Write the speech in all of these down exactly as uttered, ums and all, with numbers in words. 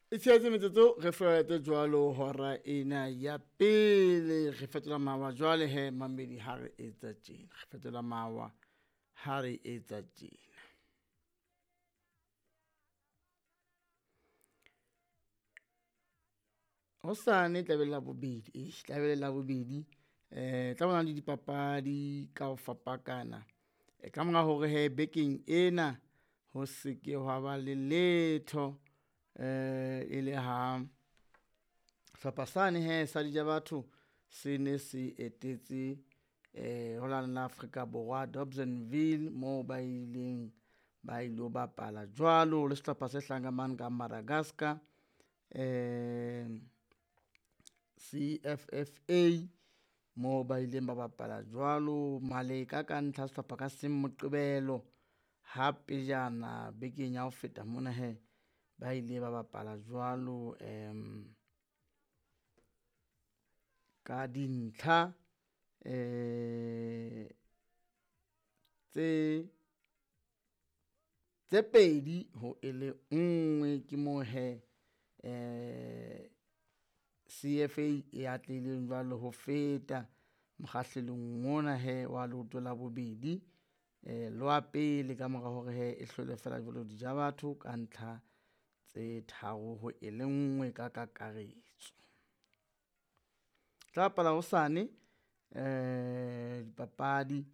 E tshehetsa metsotso re fete jwalo hora ena ya pele re fetola mawa jwale he mamedi ha re etsa tjena, re fetola mawa ha re etsa tjena. Hosane tla be le Labobedi, eish tla be le Labobedi eh tla bona le dipapadi ka ho fapakana. E ka mora hore hee bekeng ena ho se ke hwa ba le letho eh e le ha hlopha sane hee sa Dijabatho se ne se etetse eh ho lane la Afrika Borwa Dobsonville moo ba ileng ba ilo bapala jwalo le sehlopha se hlahang ka mane ka Madagascar eh C F F A moo ba ileng ba bapala jwalo Maleka ka ntlha sehlopha ka seng Moqebelo ha pejana bekeng ya ho feta mona hee ba ile ba bapala jwalo um ka dintlha eh tse tse pedi ho e le nngwe ke moo hee eh C F A e atlehileng jwalo ho feta mokgahlelong ona hee wa leoto la bobedi eh le wa pele ka mora hore hee e hlole fela jwalo Dijabatho ka ntlha tse tharo ho e le nngwe ka kakaretso. Tla bapala hosane eh dipapadi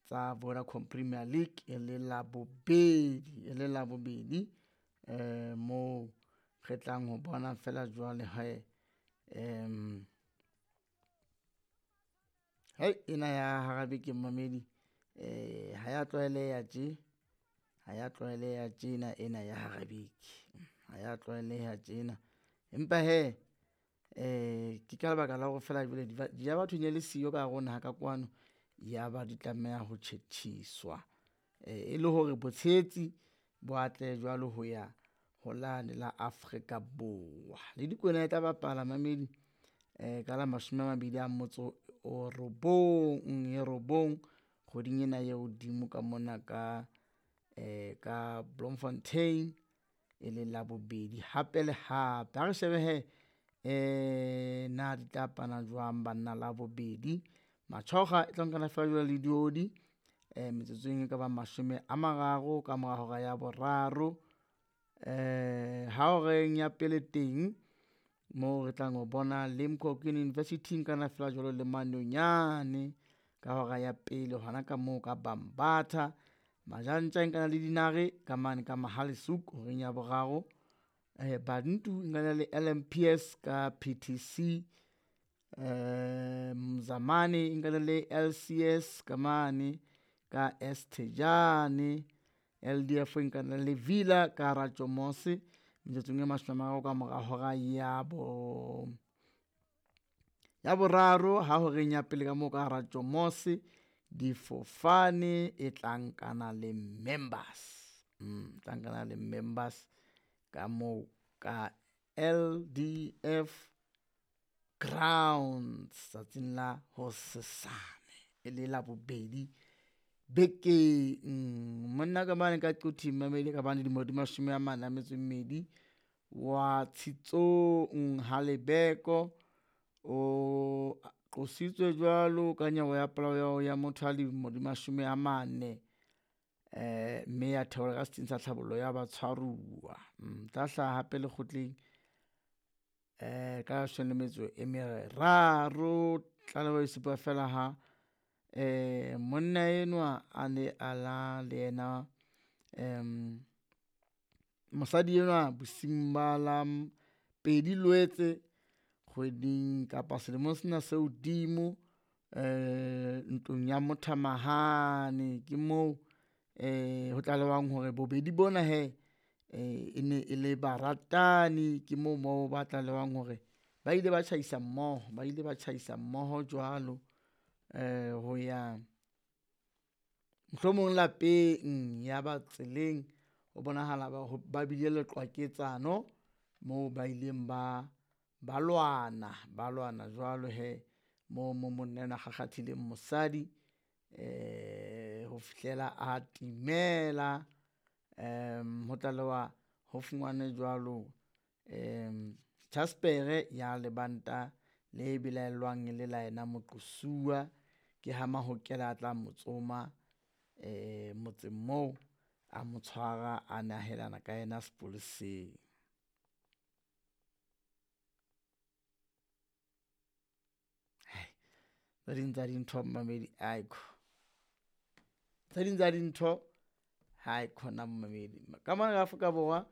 tsa Vodacom Premier League e le Labobedi e le Labobedi eh moo re tlang ho bona fela jwale hee um hei ena ya hara beke momamedi eh ha ya tlwaeleha tje, ha ya tlwaeleha tjena ena ya hara beke, ha ya tlwaeleha tjena. Empa hee eh ke ka lebaka la hore feela jwale Dijabatho ne le siyo ka hare ho naha ka kwano, ya ba di tlameha ho tjhetjhiswa e le hore botshehetsi bo atlehe jwalo ho ya ho lane la Afrika Borwa. Le Dikwena e tla bapala mamedi eh ka la mashome a mabedi a motso o robong e robong kgweding ena e hodimo ka mona ka eh ka Bloemfontein e le Labobedi hape le hape. Ha re shebe hee eh na di tla pana jwang banna Labobedi. Matjhokga e tla nkana fela jwalo le diodi eh metsotsong e ka bang mashome a mararo ka mora hora ya boraro. Eh ha horeng ya pele teng moo re tlang ho bona Limkokwing University nkana fela jwalo le Manonyane ka hora ya pele hona ka moo ka Bambatha. Majantja e nkana le Dinare ka mane ka Mohale's Hoek horeng ya boraro. Eh Bantu nkana le L M P S ka P T C. Eh Mzamane nkana le L C S ka mane ka Estejane. L D F nkana le Villa ka Ratjomose metsotsong e mashome a mararo ka mora hora ya bo ya boraro ha horeng ya pele ka moo ka Ratjomose difofane e tla nkana le members, mm tla nkana le members ka moo ka L D F grounds tsatsing la hosesane e le Labobedi bekeng. Monna ka mane ka Quthing mamedi ka bane dilemo di mashome a mane a metso e mmedi wa Tshitsong ha Lebeko o qositswe jwalo ka nyewe ya polao ya motho a dilemo di mashome a mane eh mme ya theolwa ka setsing sa tlhabollo ya batshwaruwa. Mm tla hlaha hape lekgotleng eh ka leshome le metso e meraro. Tlaleho e supa fela ha eh monna enwa a ne a la le yena um mosadi enwa bosiung ba la pedi Loetse kgweding kapa selemong sena se hodimo eh ntlong ya mothamahane. Ke moo eh ho tlalehwang hore bobedi bona hee e ne e le baratani, ke moo mo ba tlalehwang hore ba ile ba tjhaisa mmoho, ba ile ba tjhaisa mmoho jwalo eh ho ya mohlomong lapeng ya ba tseleng ho bonahala ba ba bile le qwaketsano moo ba ileng ba ba lwana, ba lwana jwalo hee moo mo monna enwa a kgakgathileng mosadi eh ho fihlela a timela. Um ho tlalewa ho fumanwe jwalo Jaspere ya lebanta le belaellwang e le la yena moqosuwa. Ke ha Mahokela a tla mo tsoma motseng moo, a mo tshwara a nehelana ka yena sepoleseng. Tse ding tsa dintho momamedi aekho, tse ding tsa dintho haikhona momamedi. Ka mona ka Afrika Borwa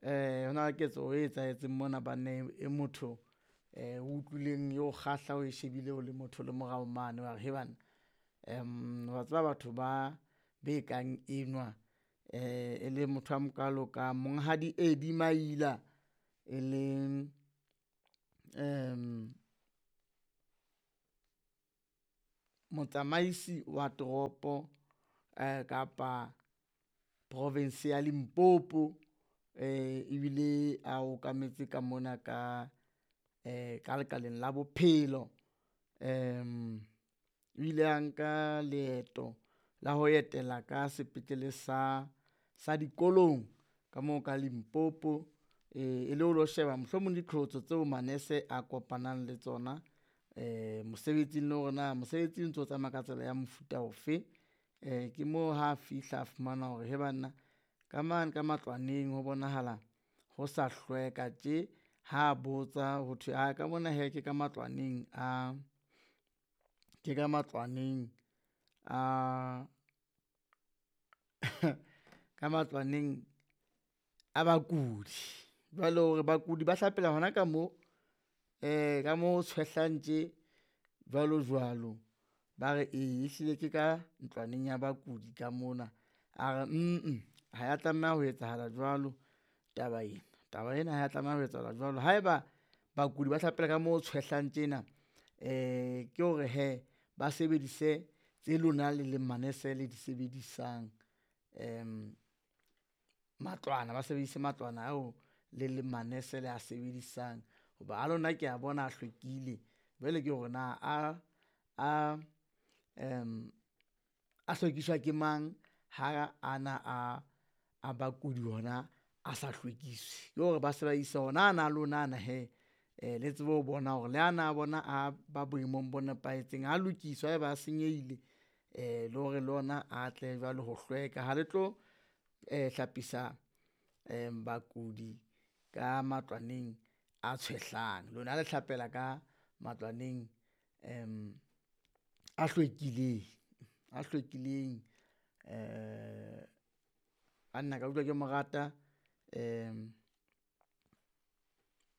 ho na le ketso e etsahetseng mona banneng e motho o utlwileng e o kgahla o shebile o le motho o le morao mane wa re hee banna. Wa tseba batho ba be kang enwa e le motho a mokalo ka Monghadi Eddie Maila, e leng motsamaisi wa toropo kapa province ya Limpopo. Ebile a okametse ka mona ka ka lekaleng la bophelo. O ile a nka leeto la ho etela ka sepetlele sa sa dikolong ka moo ka Limpopo, e le ho lo sheba mohlomong diqholotso tseo manese a kopanang le tsona mosebetsing le hore na mosebetsi o ntso tsamaya ka tsela ya mofuta ofe. Ke moo ha fihla a fumana hore hee banna ka mane ka matlwaneng ho bonahala ho sa hlweka tje, ha botsa ho thwe ae ka mona hee ke ka matlwaneng a, ke ka matlwaneng a ka matlwaneng a bakudi. Jwale hore bakudi ba hlapela hona ka moo ka mo ho tshwehlang tje jwalo jwalo. Ba re ee ehlile ke ka ntlwaneng ya bakudi ka mona, a re mm ha ya tlameha ho etsahala jwalo taba ena, taba ena ha ya tlameha ho etsahala jwalo. Ha eba bakudi ba hlapela ka mo ho tshwehlang tjena ke hore hee ba sebedise tse lona le leng manese le di sebedisang matlwana, ba sebedise matlwana ao le leng manese le a sebedisang hoba a lona ke a bona a hlwekile. Jwale ke hore na a a a hlwekiswa ke mang ha ana a a bakudi ona a sa hlwekiswe, ke hore ba se ba ise ona ana a lona ana hee le tsebe ho bona hore le ana a bona a ba boemong bo nepahetseng, a lokiswe ha eba a senyehile le hore le ona a tle jwale ho hlweka. Ha le tlo hlapisa bakudi ka matlwaneng a tshwehlang, lona le hlapela ka matlwaneng a hlwekileng, a hlwekileng banna ka utlwa ke mo rata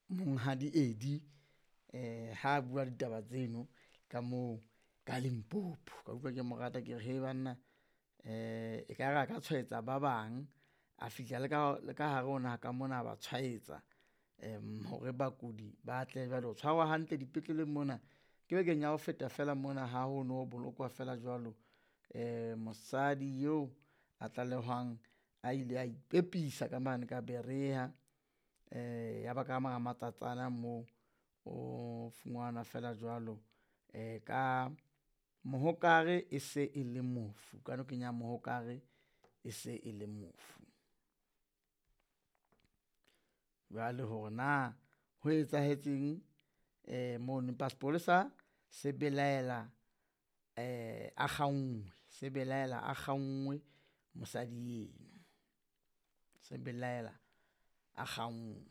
Monghadi Eddie ha bua ditaba tseno ka moo ka Limpopo. Ka utlwa ke mo rata ke re hee banna ekare a ka tshwaetsa ba bang, a fihla le ka le ka hare ho naha ka mona, a ba tshwaetsa hore bakudi ba tle jwale ho tshwarwa hantle dipetleleng mona. Ke bekeng ya ho feta feela mona ha ho no bolokwa feela jwalo mosadi eo a tlalehwang a ile a ipepisa ka mane ka Berea, ya ba ka mora matsatsana moo o fumanwa feela jwalo ka mohokare e se e le mofu, ka nokeng ya Mohokare e se e le mofu. Jwale hore na ho etsahetseng mono, empa sepolesa se belaela a kgauwe, se belaela a kgauwe mosadi eno, se belaela a kgauwe.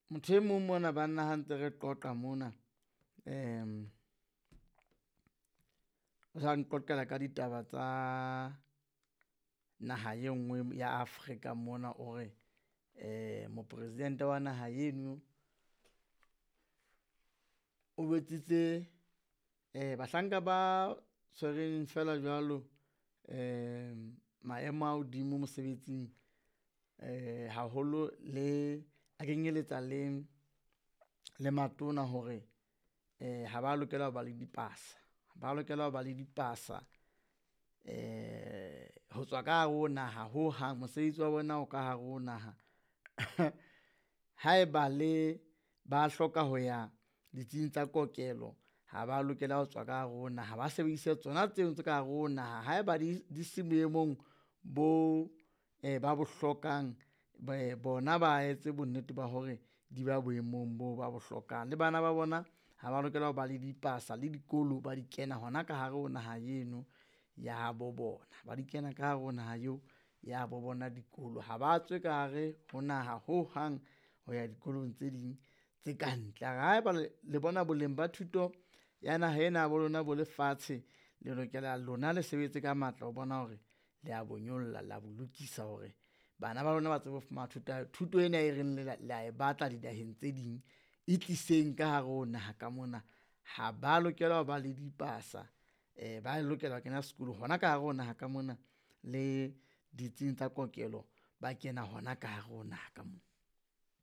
Motho e mong mona banna ha ntse re qoqa mona o sa nqoqela ka ditaba tsa naha e nngwe ya Afrika mona o re mopresidente wa naha eno o jwetsitse bahlanka ba tshwereng feela jwalo maemo a hodimo mosebetsing haholo le a kenyeletsa le, le matona hore ha ba lokela ho ba le dipasa, ha ba lokela ho ba le dipasa ho tswa ka hare ho naha hohang, mosebetsi wa bona o ka hare ho naha. Haeba le ba hloka ho ya ditsing tsa kokelo. Ha ba lokela ho tswa ka hare ho naha, ba sebedise tsona tseo tse ka hare ho naha. Haeba di di se boemong bo ba bo hlokang bona ba etse bonnete ba hore di ba boemong boo ba bo hlokang. Le bana ba bona ha ba lokela ho ba le dipasa le dikolo ba di kena hona ka hare ho naha eno ya habo bona, ba di kena ka hare ho naha eo ya bo bona dikolo. Ha ba tswe ka hare ho naha hohang ho ya dikolong tse ding tse kantle. A re haeba le bona boleng ba thuto ya naha ena ya bo lona bo le fatshe, le lokela lona le sebetse ka matla ho bona hore le a bo nyolla, le a bo lokisa hore bana ba lona ba tsebe ho fumana thuto thuto ena e reng le a e batla dinaheng tse ding e tliseng ka hare ho naha ka mona. Ha ba lokela ho ba le dipasa, ba lokela ho kena sekolo hona ka hare ho naha ka mona le ditsing tsa kokelo, ba kena hona ka hare ho naha ka mona.